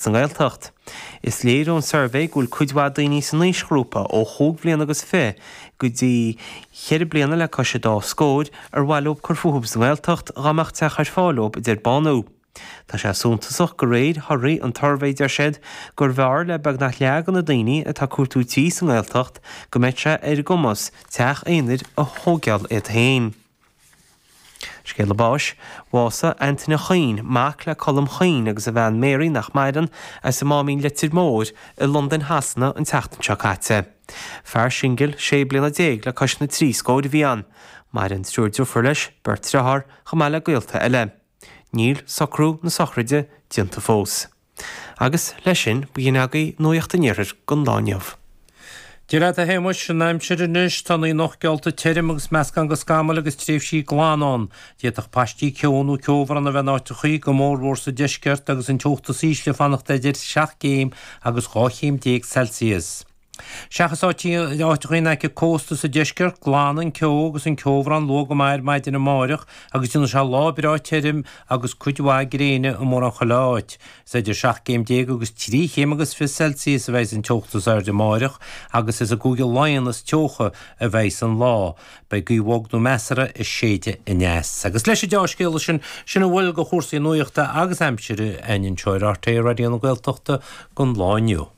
Sa nGaeltacht. Is léir ón suirbhé go bhfuil cuid mhaith daoine san aoisghrúpa ó chúig bhliana agus fi go dtí cheithre bliana le cois an dá scóir ar mhaith leo cur fúthu sa nGaeltacht dhá mbeadh teach ar fáil leo, a deir Bánú. Tá sé suntasach de réir thorthaí an tsuirbhé, deir siad, gurbh fhearr le beagnach leath de na daoine atá ag cuartú tí sa nGaeltacht go mbeadh sé ar a gcumas teach aonair a thóigeáil iad féin. Scéala báis, Bhásaigh Antaine Choinn, mac le Colm Choinn agus a bhean Mary, nach maireann, as an Máimín Leitir Móir i Londain Shasana an tseachtain seo caite. Fear singil, 16 bliana le cois na dtrí scóir a bhí ann. Maireann triúr driofúr leis, beirt driotháir, chomh maith le gaolta eile. Níl socrú na sochraide déanta fós. Agus leis sin, b'shin agaibh Nuacht an Iarthair don lá inniu. Dia leat a Shéamuis, an aimsir anois, tá an anocht geallta tirim agus meascán de scamaill agus tréimhsí glana ann. D'fhéadfadh paistí ceo nó ceobhrán a bheith in áiteachaí, go mórmhór sa deisceart, agus an teocht is ísle ag fanacht idir 7 gcéim agus 12 chéim Celsius. Seachas áiteachaí in aice cósta sa deisceart, glanfaidh an ceo agus an ceobhrán luath go maith ar maidin amáireach agus déanfaidh sé lá breá tirim agus cuid mhaith gréine i mórán chuile áit. Is idir 17 gcéim agus 3 chéim agus 20 Celsius a bheidhs an teocht is airde amáireach agus is i gCúige Laighean is teocha a bheidhs an lá. Beidh gaoth bhog nó measartha ag séideadh aneas. Agus leis an deá-scéala sin, sin a bhfuil de chúrsaí nuachta agus aimsire againn anseo ar RTÉ Raidió na Gaeltachta don lá inniu.